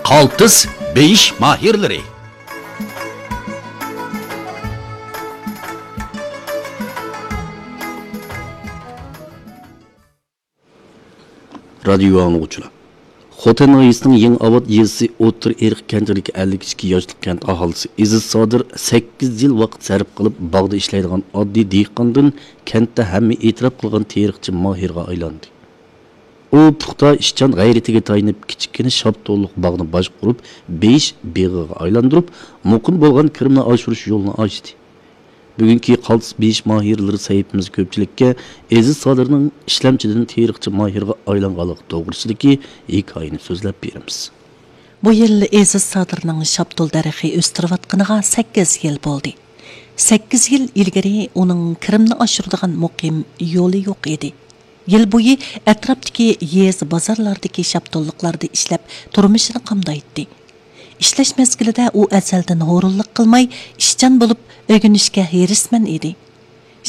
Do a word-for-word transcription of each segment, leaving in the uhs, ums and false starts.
قالتىس بېيىش ماھىرلىرى. رادىيو ئاڭلىغۇچىلار، خوتەن ناھىيەسىنىڭ يېڭى ئاۋات يېزىسى ئوتتۇرا ئېرىق كەنتىدىكى ئەللىك ئىككى ياشلىق كەنت ئاھالىسى ئېزىز سادىر سەككىز يىل ۋاقىت سەرپ قىلىپ، باغدا ئىشلەيدىغان ئاددىي دېھقاندىن كەنتتە ھەممە ئېتىراپ قىلغان تېرىقچى ماھىرغا ئايلاندى. ئۇ پۇختا ئىشچان غەيرىتىگە تايىنىپ، كىچىككىنە شاپتۇللۇق باغنى باشقۇرۇپ، بېيىش بېغىغا ئايلاندۇرۇپ، مۇقىم بولغان كىرىمنى ئاشۇرۇش يولىنى ئاچتى. بۈگۈنكى قالتىس بېيىش ماھىرلىرى سەھىپىمىزدە كۆپچىلىككە ئېزىز سادىرنىڭ ئىشلەمچىدىن تېرىقچى ماھىرغا ئايلانغانلىقى توغرىسىدىكى ھېكايىنى سۆزلەپ بېرىمىز. بۇ يىل ئېزىز سادىرنىڭ شاپتۇل دەرىخى ئۆستۈرۈۋاتقىنىغا سەككىز يىل بولدى. سەككىز يىل ئىلگىرى ئۇنىڭ كىرىمنى ئاشۇرىدىغان مۇقىم يولى يوق ئىدى. يىل بويى ئەتراپتىكى يېزا بازارلاردىكى شاپتۇللۇقلاردا ئىشلەپ، تۇرمۇشىنى قامدايتتى. ئىشلەش مەزگىلىدە ئۇ ئەزەلدىن ھۇرۇنلۇق قىلماي، ئىشچان بولۇپ، ئۆگىنىشكە ھېرىسمەن ئىدى.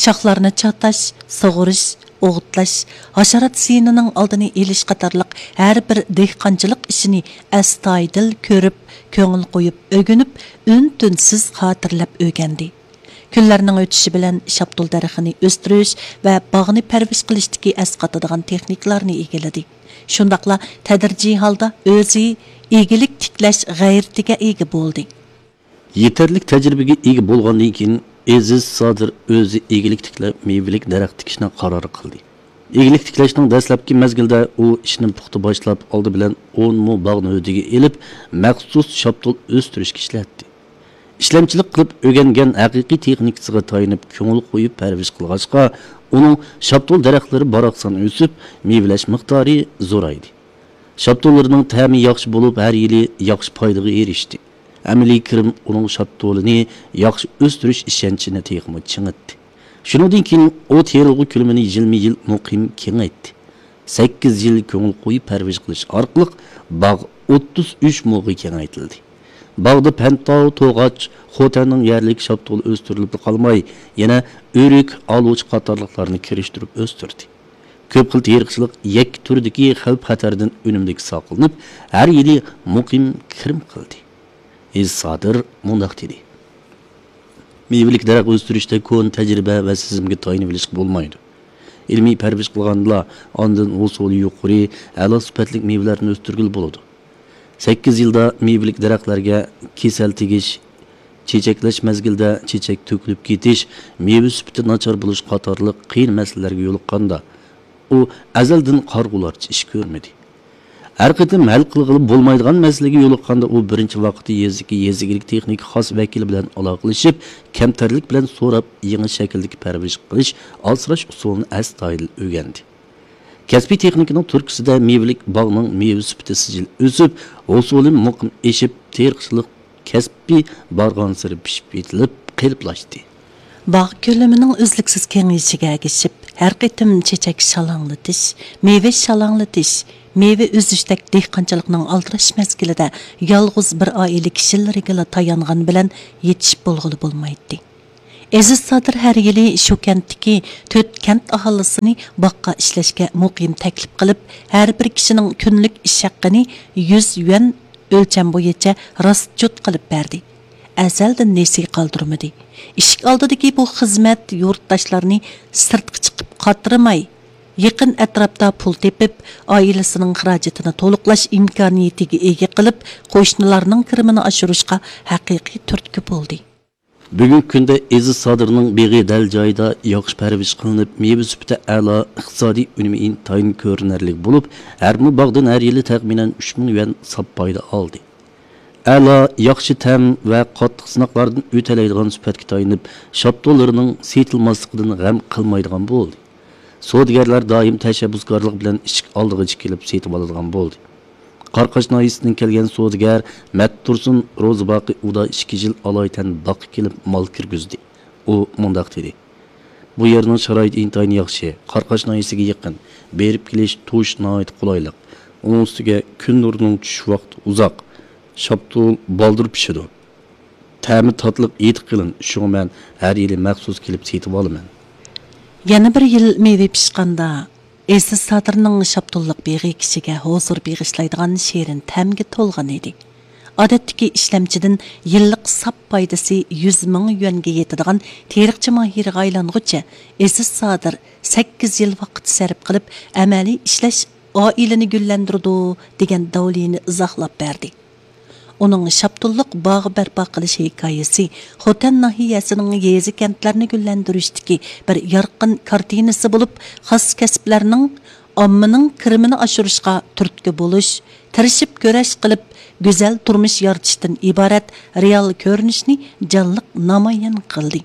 شاخلارنى چاتاش، سۇغۇرۇش، ئوغۇتلاش، ھاشارات زىيىنىنىڭ ئالدىنى ئېلىش قاتارلىق ھەر بىر دېھقانچىلىق ئىشىنى ئەستايىدىل كۆرۈپ، كۆڭۈل قويۇپ ئۆگىنىپ، ئۈن-تىنسىز خاتىرىلەپ ئۆگەندى. كۈنلەرنىڭ ئۆتۈشى بىلەن شاپتۇل دەرىخىنى ئۆستۈرۈش ۋە باغنى پەرۋىش قىلىشتىكى ئەسقاتىدىغان تېخنىكىلارنى ئىگىلىدى. شۇنداقلا تەدرىجىي ھالدا ئۆزى ئىگىلىك تىكلەش غەيرىتىگە ئىگە بولدى. يېتەرلىك تەجرىبىگە ئىگە بولغاندىن كېيىن، ئېزىز سادىر ئۆزى ئىگىلىك تىكلەپ، مېۋىلىك دەرەخ تىكىشنى قارار قىلدى. ئىگىلىك تىكلەشنىڭ دەسلەپكى مەزگىلىدە ئۇ ئىشنى پۇختا باشلاپ، ئالدى بىلەن ئون مو باغنى ھۆددىگە ئېلىپ، مەخسۇس شاپتۇل ئۆستۈرۈشكە ئىشلەتتى. ئىشلەمچىلىك قىلىپ ئۆگەنگەن ھەقىقىي تېخنىكىسىغا تايىنىپ، كۆڭۈل قويۇپ پەرۋىش قىلغاچقا، ئۇنىڭ شاپتۇل دەرەخلىرى باراقسان ئۆسۈپ، مېۋىلەش مىقدارى زورايدى. شاپتۇللىرىنىڭ تەمى ياخشى بولۇپ، ھەر يىلى ياخشى پايدىغا ئېرىشتى. ئەمەلىي كىرىم ئۇنىڭ شاپتۇلىنى ياخشى ئۆستۈرۈش ئىشەنچىنى تېخىمۇ چىڭىتتى. شۇنىڭدىن كېيىن ئۇ تېرىلغۇ كۆلىمىنى يىلمۇ-يىل مۇقىم كېڭەيتتى. سەككىز يىل كۆڭۈل قويۇپ پەرۋىش قىلىش ئارقىلىق باغ ئوتتۇز ئۈچ موغا كېڭەيتىلدى. باغدا پەنتاۋ، توغاچ، خوتەننىڭ يەرلىك شاپتۇلى ئۆستۈرۈلۈپلا قالماي، يەنە ئۆرۈك، ئالۇچا قاتارلىقلارنى كىرىشتۈرۈپ ئۆستۈردى. كۆپ خىل تېرىقچىلىق يەككە تۈردىكى خەۋپ-خەتەردىن ئۈنۈملۈك ساقلىنىپ، ھەر يىلى مۇقىم كىرىم قىلدى. ئېزىز سادىر مۇنداق دېدى: مېۋىلىك دەرەخ ئۆستۈرۈشتە كونا تەجرىبە ۋە سېزىمگە تايىنىۋېلىشقا بولمايدۇ. ئىلمىي پەرۋىش قىلغاندىلا، ئاندىن ھوسۇلى يۇقىرى، ئەلا سۈپەتلىك مېۋىلەرنى ئۆستۈرگىلى بولىدۇ. سەككىز يىلدا مېۋىلىك دەرەخلەرگە كېسەل تېگىش، چېچەكلەش مەزگىلىدە چېچەك تۆكۈلۈپ كېتىش، مېۋە سۈپىتى ناچار بولۇش قاتارلىق قىيىن مەسىلىلەرگە يولۇققاندا، ئۇ ئەزەلدىن قارىغۇلارچە ئىش كۆرمىدى. ھەر قېتىم ھەل قىلغىلى بولمايدىغان مەسىلىگە يولۇققاندا، ئۇ بىرىنچى ۋاقىتتا يېزىدىكى يېزا ئىگىلىك تېخنىكا خاس ۋەكىلى بىلەن ئالاقىلىشىپ، كەمتەرلىك بىلەن سوراپ، يېڭى شەكىلدىكى پەرۋىش قىلىش، ئاسراش ئۇسۇلىنى ئەستايىدىل ئۆگەندى. كەسپىي تېخنىكىنىڭ تۈرتكىسىدە مېۋىلىك باغنىڭ مېۋە سۈپىتى سىجىل ئۆسۈپ، ھوسۇلى مۇقىم ئېشىپ، تېرىقچىلىق كەسپى بارغانسېرى پىشىپ يېتىلىپ، قېلىپلاشتى. باغ كۆلىمىنىڭ ئۈزلۈكسىز كېڭىيىشىگە ئەگىشىپ، ھەر قېتىم چېچەك شالاڭلىتىش، مېۋە شالاڭلىتىش، مېۋە ئۈزۈشتەك دېھقانچىلىقنىڭ ئالدىراش مەزگىلىدە يالغۇز بىر ئائىلە كىشىلىرىگىلا تايانغان بىلەن يېتىشىپ بولغىلى بولمايتتى. ئېزىز سادىر ھەر يىلى شۇ كەنتتىكى تۆت كەنت ئاھالىسىنى باغقا ئىشلەشكە مۇقىم تەكلىپ قىلىپ، ھەر بىر كىشىنىڭ كۈنلۈك ئىش ھەققىنى يۈز يۈەن ئۆلچەم بويىچە راست جۇت قىلىپ بەردى. ئەزەلدىن نېسى قالدۇرمىدى. ئىشىك ئالدىدىكى بۇ خىزمەت يۇرتداشلارنى سىرتقا چىقىپ قاترىماي، يېقىن ئەتراپتا پۇل تېپىپ، ئائىلىسىنىڭ خىراجىتىنى تولۇقلاش ئىمكانىيىتىگە ئىگە قىلىپ، قوشنىلارنىڭ كىرىمىنى ئاشۇرۇشقا ھەقىقىي تۈرتكە بولدى. بۈگۈنكى كۈندە ئېزىز سادىرنىڭ بېغى دەل جايىدا ياخشى پەرۋىش قىلىنىپ، مېۋە سۈپىتى ئەلا، ئىقتىسادىي ئۈنۈمى ئىنتايىن كۆرۈنەرلىك بولۇپ، ھەر بىر باغدىن ھەر يىلى تەخمىنەن ئۈچ مىڭ يۈەن ساپ پايدا ئالدى. ئەلا، ياخشى تەم ۋە قاتتىق سىناقلاردىن ئۆتەلەيدىغان سۈپەتكە تايىنىپ، شاپتۇللىرىنىڭ سېتىلماسلىقىدىن غەم قىلمايدىغان بولدى. سودىگەرلەر دائىم تەشەببۇسكارلىق بىلەن ئىشىك ئالدىغىچە كېلىپ سېتىۋالىدىغان بولدى. قاراقاش ناھىيەسىدىن كەلگەن سودىگەر مەتتۇرسۇن روزىباقى ئۇدا ئىككى يىل ئالايىتەن باغقا كېلىپ مال كىرگۈزدى. ئۇ مۇنداق دېدى: بۇ يەرنىڭ شارائىتى ئىنتايىن ياخشى، قاراقاش ناھىيەسىگە يېقىن، بېرىپ كېلىش، تۇرۇش ناھايىتى قولايلىق. ئۇنىڭ ئۈستىگە كۈن نۇرىنىڭ چۈشۈش ۋاقتى ئۇزاق، شاپتۇل بالدۇر پىشىدۇ. تەمى تاتلىق، ھىدى قېلىن، شۇڭا مەن ھەر يىلى مەخسۇس كېلىپ سېتىۋالىمەن. يەنە بىر يىل مېۋە پىشقاندا، ئېزىز سادىرنىڭ شاپتۇللۇق بېغى كىشىگە ھۇزۇر بېغىشلايدىغان شېرىن تەمگە تولغان ئىدى. ئادەتتىكى ئىشلەمچىدىن يىللىق ساپ پايدىسى يۈز مىڭ يۈەنگە يېتىدىغان تېرىقچى ماھىرىغا ئايلانغۇچە، ئېزىز سادىر سەككىز يىل ۋاقىت سەرپ قىلىپ، ئەمەلىي ئىشلەش ئائىلىنى گۈللەندۈرىدۇ، دېگەن داۋلىنى ئىزاھلاپ بەردى. ئۇنىڭ شاپتۇللۇق باغ بەرپا قىلىش ھېكايىسى خوتەن ناھىيەسىنىڭ يېزا، كەنتلەرنى گۈللەندۈرۈشتىكى بىر يارقىن كارتىنىسى بولۇپ، خاس كەسىپلەرنىڭ ئاممىنىڭ كىرىمىنى ئاشۇرۇشقا تۈرتكە بولۇش، تىرىشىپ كۈرەش قىلىپ، گۈزەل تۇرمۇش يارىتىشتىن ئىبارەت رېئال كۆرۈنۈشنى جانلىق نامايان قىلدى.